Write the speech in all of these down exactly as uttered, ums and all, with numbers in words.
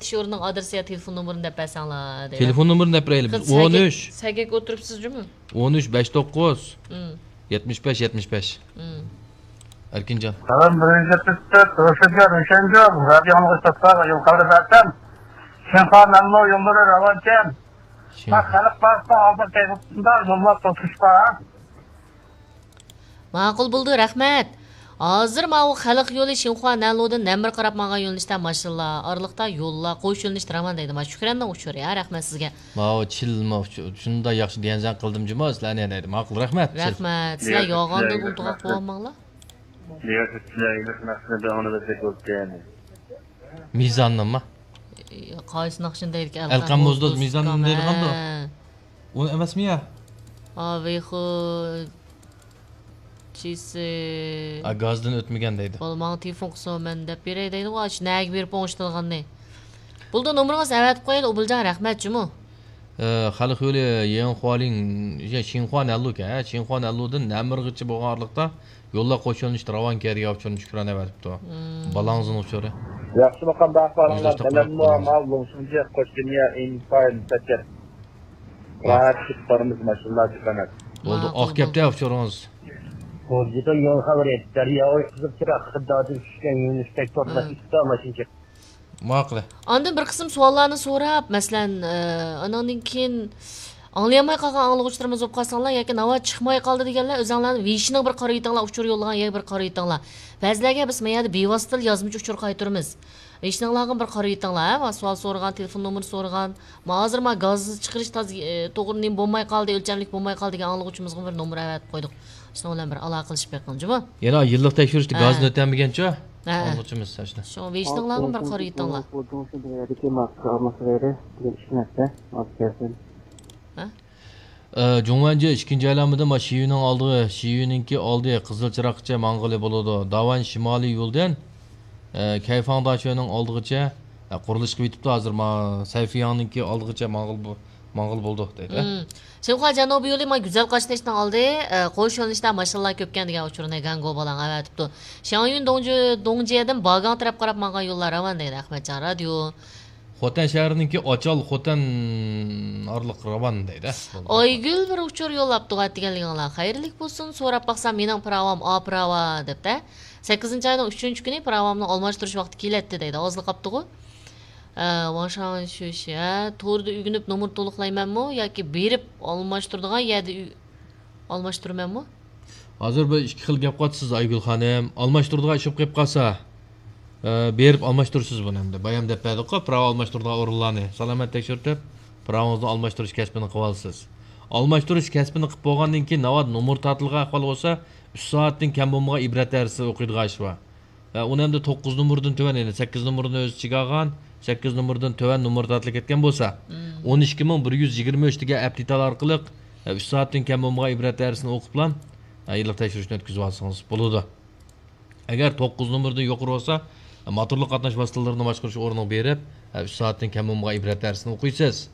شۇ ئورۇننىڭ ئادرېسى يا تېلېفون نومۇرىنى دەپ بەرسەڭلار دەيدۇ. تېلېفون نومۇرىنى دەپ بېرەيلى بىز. ئون ئۈچ. سەگەك ئولتۇرۇپسىز جۇمۇ؟ ئون ئۈچ، بەش توققۇز، يەتمىش بەش، يەتمىش بەش. ئەركىنجان. سالام، بىرىنچى قىسىم، روشەنجان، روشەنجان، رادىيو ئاڭلىغۇچىلارغا يول خەۋىرى بەرسەم، شىنخۇا مەنمۇ يوللىرى راۋانكەن. شىنخۇا. خەلق بارسا، ھازىر تېلېفوندا يوللار توسۇشقا. ماقۇل بولدى، رەھمەت. ھازىر ماۋۇ خەلق يولى شىنخۇا نەنلۇدىن نەمبىر قاراپ ماڭغان يۆنىلىشتە ماشىنىلار ئارىلىقتا يوللار قوش يۆنىلىشتە راۋان دەيدۇ. ما شۈكرەننىڭ ئۇچۇرى ھە، رەھمەت سىزگە. ماۋۇ چىل، ماۋۇ شۇنداق ياخشى دىيەنزەن قىلدىم جۇمۇ سىلەرنى دەيدۇ. ماقۇل، رەھمەت، چىل. رەھمەت. سىلەر ياغاندىن ئۇنتۇغاق بولۇۋالماڭلار. مىزاننىما؟ قايسى ناخشىنى دەيدىكەن؟ ئەلقەم مۇزدۇز مىزان دەيدىغاندۇ. ئۇ ئەمەسمۇ يا؟ ئاۋېخۇ چىسى. ئا، گازدىن ئۆتمىگەن دەيدۇ. بولماڭ، تېلېفون قىلسا مەن دەپ بېرەي دەيدىغۇ، ئاشۇ نەگە بېرىپ ئوڭشىتىدىغاننى. بولدى، نومۇرىڭىزنى ئەۋەتىپ قويايلى، ئوبۇلجان، رەھمەت جۇمۇ. ئە، خەلق يولى يېڭخۇالىڭ، يە، شىنخۇا نەنلۇكەن، ھە، شىنخۇا نەنلۇدىن نەمىرغىچە بولغان ئارىلىقتا يوللار قوش يۆنىلىشتە راۋانكەن دېگەن ئۇچۇرنى شۈكرانە ئەۋەتىپتۇ. بالىڭىزنىڭ ئۇچۇرى. ياخشىمۇ قانداق ئەھۋالىڭلار؟ بەلەنمۇ مال لوڭشىڭجى قوشدۇنيا ئىنفايل سەچەت. راھەت كېتىپ بارىمىز ماشىنىلار چىقىمەن. بولدى، ئاق كەپتە ئۇچۇرىڭىز. بولدى، يول خەۋىرى. دەريا ئوي قىزىل چىراغ، خىددادىن چۈشكەن يۆنىلىشتەك توردا ئىككى ماشىنا چىقتى. ماقۇل. ئاندىن بىر قىسىم سوئاللارنى سوراپ، مەسىلەن، ئە، ئانىڭدىن كېيىن ئاڭلىيالماي قالغان ئاڭلىغۇچىلىرىمىز بولۇپ قالساڭلار ياكى ناۋادا چىقماي قالدى دېگەنلەر ئۆزۈڭلارنىڭ ۋېيشنىڭ بىر قارا يېتىڭلار، ئۇچۇر يوللىغان يەرگە بىر قارا يېتىڭلار. بەزىلەرگە بىز ما يەردە بىۋاسىتىلا يازمىچە ئۇچۇر قايتۇرىمىز. ۋېيشنىڭلارغىمۇ بىر قارا يېتىڭلار، ھە؟ سوئال سورىغان، تېلېفون نومۇرى سورىغان. ما ھازىر ما گاز چىقىرىش تاز-، ئە، توغرا نېمە بولماي قالدى، ئۆلچەملىك بولماي قالدى دېگەن ئاڭلىغۇچىمىزغىمۇ بىر نومۇر ئەۋەتىپ قويدۇق. شۇنىڭ بىلەن بىر ئالاقىلىشىپ بېقىڭ جۇمۇ. يەنە يىللىق تەكشۈرۈشتە ھە. گازنى ئۆتەلمىگەنچۇ؟ ھە. ئاڭلىغۇچىمىز ئاشۇ. شۇڭا ۋېيشنىڭلارغىمۇ بىر قارا يېتىڭلار. ھە؟ ئە، جۇڭۋەنجې ئىككىنچى ئەلامىدە ما شىيۈنىڭ ئالدىغا، شىيۈنىڭكى ئالدى قىزىل چىراغقىچە ماڭغىلى بولىدۇ. داۋەن شىمالىي يولدىن، ئە، كەيفاڭداشۆنىڭ ئالدىغىچە، ئە، قۇرۇلۇش قىلىۋېتىپتۇ ھازىر. ما سەيفىياڭنىڭكى ئالدىغىچە ماڭغىلى بو-، ماڭغىلى بولىدۇ دەيدۇ. شىنخۇا جەنۇبىي يولى ما گۈزەل قاشتېشىنىڭ ئالدى، ئە، قوش يۆنىلىشتە ماشىنىلار كۆپكەن دېگەن ئۇچۇرنى گەڭگو بالاڭ ئەۋەتىپتۇ. شياڭيۈن دوڭجې-، دوڭجيەدىن باگاڭ تەرەپ قاراپ ماڭغان يوللار راۋان دەيدۇ ئەخمەتجان رادىيو. خوتەن شەھىرىنىڭكى ئاچال خوتەن ئارىلىق راۋان دەيدۇ. ئايگۈل بىر ئۇچۇر يوللاپتۇ، ئەتىگەنلىكىڭلار خەيرلىك بولسۇن. سوراپ باقسام، مېنىڭ پىراۋام ئا پىراۋا دەپتە. سەككىزىنچى ئاينىڭ ئۈچىنچى كۈنى پىراۋامنىڭ ئالماشتۇرۇش ۋاقتى كېلەتتى دەيدۇ. ئازلا قاپتىغۇ. ئە، ۋاڭشاڭ شۈشى، ھە، توردا ئۆگىنىپ نومۇر تولۇقلايمەنمۇ ياكى بېرىپ ئالماشتۇرىدىغان يەردە ئۆ-، ئالماشتۇرىمەنمۇ؟ ھازىر بىر ئىككى خىل گەپ قىلىۋاتىسىز ئايگۈل خانىم. ئالماشتۇرىدىغان ئىش بولۇپ قېلىپ قالسا، ئە، بېرىپ ئالماشتۇرىسىز بۇنى ئەمدى. بايام دەپ بەردۇققۇ، پىراۋا ئالماشتۇرىدىغان ئورۇنلارنى. سالامەت تەكشۈرتۈپ، پىراۋىڭىزنى ئالماشتۇرۇش كەسپىنى قىلىۋالىسىز. ئالماشتۇرۇش كەسپىنى قىلىپ بولغاندىن كېيىن، ناۋادا نومۇر تارتىلغان ئەھۋال بولسا، ئۈچ سائەتتىن كەم بولمىغان ئىبرەت دەرسى ئوقۇيدىغان ئىش بار. ھە، ئۇنى ئەمدى توققۇز نومۇردىن تۆۋەن، يەنى سەككىز نومۇرنى ئۆز ئىچىگە ئالغان، سەككىز نومۇردىن تۆۋەن نومۇر تارتىلىپ كەتكەن بولسا، ئون ئىككى مىڭ بىر يۈز يىگىرمە ئۈچ دېگەن ئەپ دېتال ئارقىلىق، ھە، ئۈچ سائەتتىن كەم بولمىغان ئىبرەت دەرسىنى ئوقۇپلا، ھە، يىللىق تەكشۈرۈشنى ئۆتكۈزۈۋالسىڭىز بولىدۇ. ئەگەر توققۇز نومۇردىن يۇقىرى بولسا، موتورلۇق قاتناش ۋاسىتىلىرىنى باشقۇرۇش ئورنىغا بېرىپ، ھە، ئۈچ سائەتتىن كەم بولمىغان ئىبرەت دەرسىنى ئوقۇيسىز.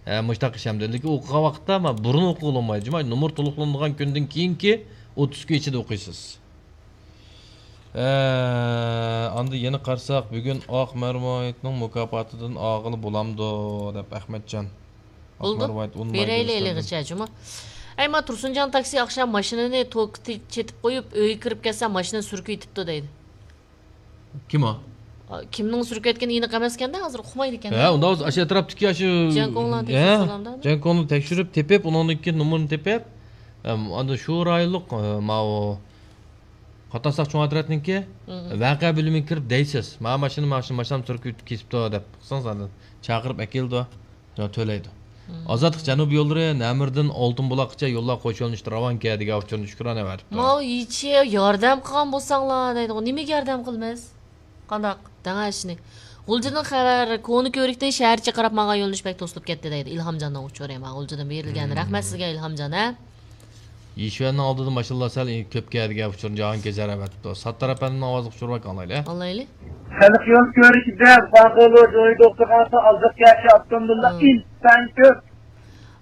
ھە، مۇشۇنداق ئىش ئەمدى. لېكىن ئوقۇغان ۋاقىتتا، ما، بۇرۇن ئوقۇغىلى بولمايدۇ. جۇما نومۇر تولۇقلىنىدىغان كۈندىن كېيىنكى ئوتتۇز كۈن ئىچىدە ئوقۇيسىز. ئە، ئاندىن يەنە قارىساق، بۈگۈن ئاق مەرۋايىتنىڭ مۇكاپاتىدىن ئالغىلى بولامدۇ، دەپ ئەخمەتجان. ئاق بولدى. مەرۋايىت ئۇنىمايدۇ بېرەيلى دېسەم. ھېلىغىچە، جۇمۇ. ئەي، ما تۇرسۇنجان تاكسى ئاخشام ماشىنىنى توكا چېتىپ قويۇپ، ئۆيگە كىرىپ كەلسە، ماشىنا سۈركىۋېتىپتۇ دەيدۇ. كىم ئۇ؟ ئا، كىمنىڭ سۈركەتكىنى ئېنىق ئەمەسكەندە، ھازىر ئۇقمايدىكەن. ھە، ئۇنداق بولسا ئاشۇ ئەتراپتىكى ئاشۇ، جيەنكوڭلارنى ھە؟ تەكشۈرسەڭلار. جيەنكوڭنى تەكشۈرۈپ تېپىپ، ئۇنىڭدىن كېيىن نومۇرنى تېپىپ، ئەم، ئاندىن شۇ رايونلۇق، ئە، ماۋۇ قاتناش ساقچى ئەترەتنىڭكى ۋەقە بۆلۈمىگە كىرىپ دەيسىز، مانا ماشىنا، ماشىنا، ماشىنام سۈركىۋېتىپ كېتىپتۇ دەپ قىلسىڭىز، ئاندىن چاقىرىپ ئەكېلىدۇ. شۇڭا تۆلەيدۇ. ئازادلىق جەنۇبىي يوللىرى نەمىردىن ئالتۇن بۇلاققىچە يوللار قوش يۆنىلىشتە راۋانكەن دېگەن ئۇچۇرنى شۈكرانە ئەۋەتىپتۇ. ماۋۇ يىچى ياردەم قىلغان بولساڭلار دەيدىغۇ. نېمىگە ياردەم قىلىمىز؟ قانداق؟ دەڭە ئىشنى. غۇلجىدىن خەۋەر، كونا كۆۋرۈكتىن شەھەرچە قاراپ ماڭغان يۆنىلىش بەك توسۇلۇپ كەتتى دەيدۇ. ئىلھامجاننىڭ ئۇچۇرى ما غۇلجىدىن بېرىلگەن. رەھمەت سىزگە ئىلھامجان، ھە؟ يىشۈەننىڭ ئالدىدا ماشىنىلار سەل كۆپ كەلدىكەن، ئۇچۇرنى جاھانكەز ئەۋەتىپتۇ. ساتتار ئەپەندىنىڭ ئاۋازلىق ئۇچۇرى باركەن، ئاڭلايلى. ئاڭلايلى. خەلق يول كۆرۈشىدە باغلىنىش ئويدۇقتىغانسا ئازلىق ياخشى ئاپتوموبىللار ئىنتايىن كۆپ.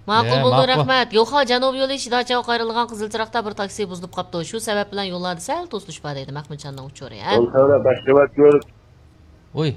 ماقۇل ھە، بولدى، ماقۇل. رەھمەت. يوخا جەنۇبىي يولى شىداچاۋغا قايرىلغان قىزىل چىراغدا بىر تاكسى بۇزۇلۇپ قاپتۇ. شۇ سەۋەب بىلەن يوللاردا سەل توسۇلۇش بار دەيدۇ مەخمۇتجاننىڭ ئۇچۇرى، ھە؟ يول خەۋىرى باشلىۋەتكۈر. ۋوي.